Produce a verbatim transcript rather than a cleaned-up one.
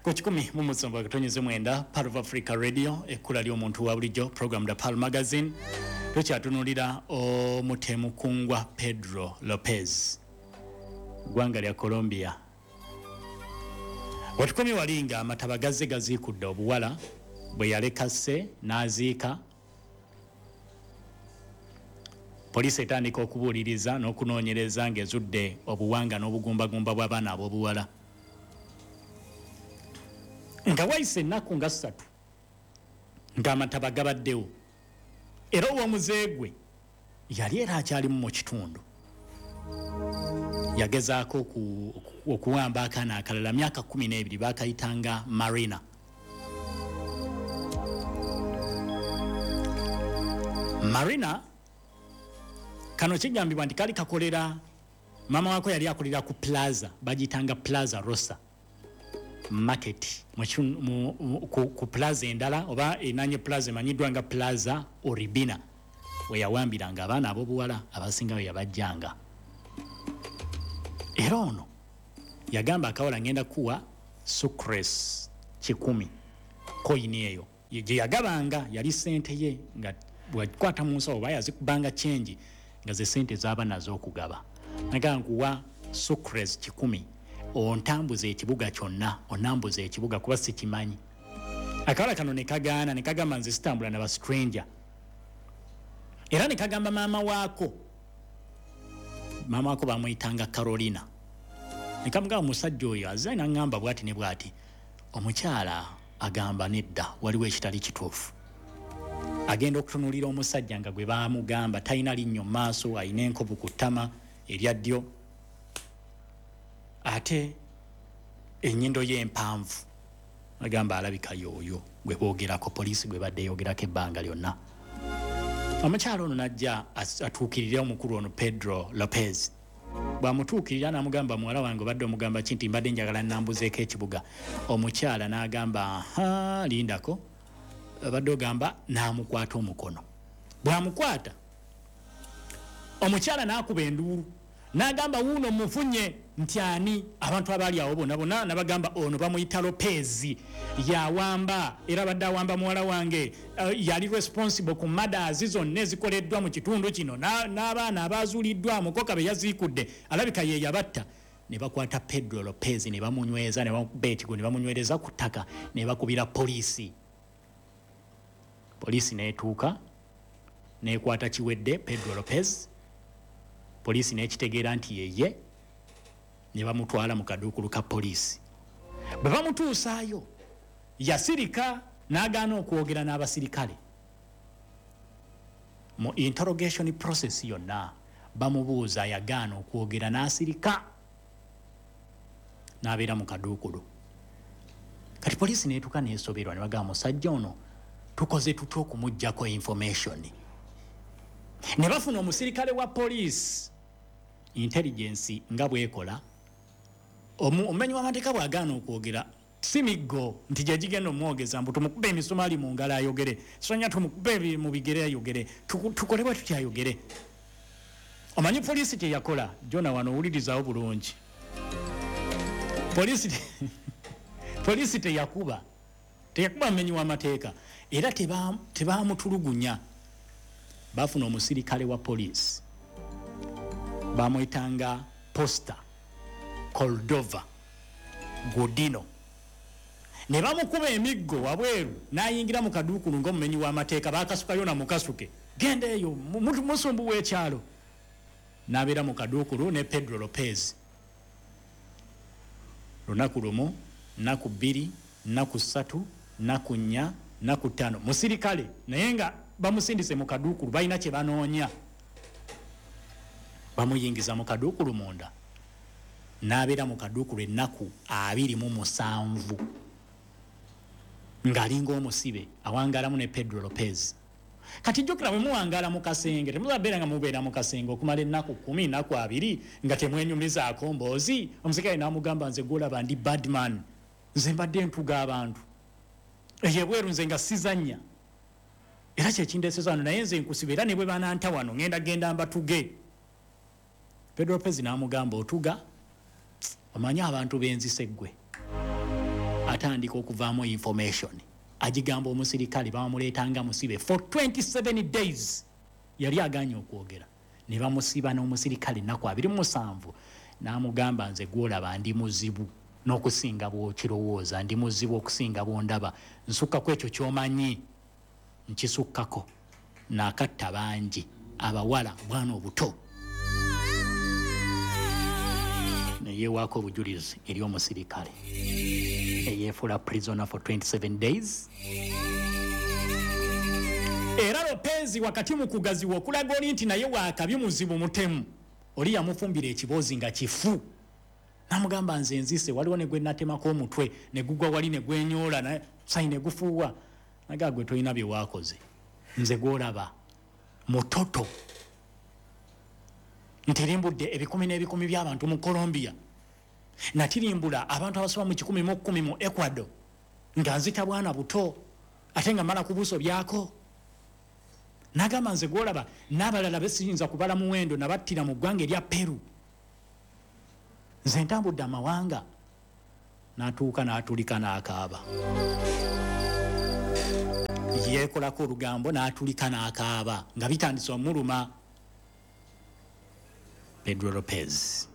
Ku kikumi mu musanvu akatonyeze mwenda, Pearl of Africa Radio, ekkula ly'omuntu wa bulijjo, program The Pearl Magazine. Tukyatunulira omutemu kungwa Pedro Lopez, ggwanga lya Colombia. Wetukomye wali nga amataba gazze gaziikudde obuwala bwe yalekase n'aziika. Poliisi etandika okubuuliriza n'okunoonyereza ng'ezudde obuwanga n'obugumbagumba bw'abaana ab'obuwala. Nga wayise ennaku nga ssatu ng'amataba gabaddewo, era ow'omuzeegwe yali era akyalimu mu kitundu. Yagezaako okuwamba akaana akalala myaka kkumi n'ebiri, baakayitanga Marina. Marina kano kigambibwa nti kali kakolera, maama wako yali akolera ku plaza, bagiyitanga Plaza Rosa Market, mu, mu, ku, ku plaza endala oba enanye plaza emanyiddwa nga Plaza Oribina, we yawambiranga abaana ab'obuwala abasinga we yabajjanga. Era ono yagamba akawala ngenda kuwa sucres kikumi, koyini eyo gye yagabanga yali ssente ye, nga bwakwata mu nsawo oba yazikubanga kyengi nga ze ssente z'aba nazo okugaba. Nagamba nkuwa sucres kikumi ontambuza ekibuga kyonna, onambuza ekibuga kuba sikimanyi. Akawala kano ne kagaana, ne kagamba nze sitambula na ba stranger. Era ne kagamba maama waako, maama waako bamuyitanga Carolina. Ne kamugamba omusajja oyo azze n'aŋŋamba bw'ati ne bw'ati. Omukyala agamba nedda, waliwo ekitali kituufu. Agenda okutunuulira omusajja nga gwe baamugamba talina linnyo mu maaso, alina enkovu ku ttama erya ddyo, ate ennyindo ye empanvu. Agamba alabika y'oyo gwe boogerako, poliisi gwe badde eyogerako ebbanga lyonna. Omukyala ono n'ajja atuukirire omukulu ono Pedro Lopez. Bw'amutuukirira n'amugamba, muwala wange obadde omugamba ki nti mbadde njagala nnambuzeeko ekibuga? Omukyala n'agamba aha, lindako, obadde ogamba, n'amukwata omukono. Bw'amukwata omukyala n'akuba enduulu n'agamba wuuno mufunye nti ani? Abantu abaali awo bonna bonna n'abagamba ono bamuyita Lopez, yawamba era abadde awamba muwala wange, uh, yali responsible ku murders zonna ezikoleddwa mu kitundu kino, n'abaana abazuuliddwa mukoka be yaziikudde alabika ye yabatta. Ne bakwata Pedro Lopez ne bamunyweza, ne bamukuba ekigo ne bamunywereza ku ttaka ne bakubira poliisi. Poliisi n'etuuka n'ekwata kiwedde Pedro Lopez. Poliisi n'ekitegeera nti yeye, ne bamutwala mu kaduukulu ka poliisi. Bwe bamutuusaayo yasirika n'agaana okwogera n'abasirikale. Mu interrogation process yonna bamubuuza, yagaana okwogera n'asirika n'abeera mu kaduukulu. Kati poliisi n'etuuka n'esoberwa ne bagamba musajja ono tukoze tutya okumuggyako information? Ne bafuna omusirikale wa poliisi, intelligence nga bw'ekola, omumenyi w'amateeka bw'agaana okwogera si miggo nti gye gigenda omwogeza, mbu tumukube emisumaali mu ngalo ayogere, sonya tumukube mu bigere ayogere, tukole bwe tutya ayogere. Omanyi poliisi kye yakola? Jona wano owulirizaawo bulungi. Poliisi poliisi teyakuba teyakuba mumenyi w'amateeka, era tebamutulugunya. Bafuna omusirikale wa poliisi bamuyitanga Posta Cordova Godino, ne bamukuba emiggo wabweru n'ayingira mu kaduukulu ng'omumenyi w'amateeka. Baakasukayo na mukasuke, genda eyo musumbu w'ekyalo. N'abeera mu kaduukulu ne Pedro Lopez lunaku lumu, nnaku bbiri, nnaku ssatu, nnaku nnya, nnaku ttaano. Musirikale naye nga bamusindise mu kaduukulu, balina kye banoonya. Bamuyingiza mu kaduukulu munda, n'abeera mu kaduukulu ennaku abiri mu musanvu ng'alinga omusibe, awangaalamu ne Pedro Lopez. Kati jjukira bwe muwangaala mu kasenge, temuzabeera nga mubeera mu kasenge okumala ennaku kkumi, nnaku abiri nga temwenyumizaako mboozi. Omusirikale n'amugamba nze gw'olaba ndi badman, nze mbadde ntuga abantu eyo ebweru, nze nga sizannya, era kyekindeeseza wano, naye nze nkusiba, era ne bwe bananta wano ngenda genda mbatuge. Pedro Lopez n'amugamba otuga, omanyi abantu benzise ggwe. Atandika okuvaamu information, agigamba omusirikale bamuleetanga musibe for twenty-seven days. Yali aganye okwogera, ne bamusiba n'omusirikale ennaku abiri mu musanvu, n'amugamba, "Nze gwolaba ndi muzibu n'okusinga bw'okirowooza, ndi muzibu okusinga bw'ondaba, nsukkako ekyo ky'omanyi, nkisukkako, naakatta bangi abawala, bwana obuto." Neyewaako obujulizi eri omusirikale eyeefuula prisoner for twenty-seven days. Era Lopez wakati mu kugaziwa okulaga oli nti naye waakabi, muzibu, mutemu, oli yamufumbira ekiboozi nga kifu, namugamba, "Nze nzise, waliwo ne gwe natemako omutwe ne gugwa wali ne gwenyoola sayi ne gufuuwa." Naga, "Gwe tolina bye waakoze, nze gwolaba mutoto ntirimbudde ebikumi n'ebikumi by'abantu mu Colombia, natirimbula abantu abasoba mu kikumi mu kkumi mu Ecuador nga nzita bwana buto ate nga mala kubuso byako." Nagamba, "Nze gwolaba n'abalala besiyinza kubala muwendo nabattira mu ggwanga erya Peru, nze ntambudde amawanga." N'atuuka n'atulika n'akaaba, yeekolako olugambo n'atulika n'akaaba nga bitandise omuluma. Pedro Lopez.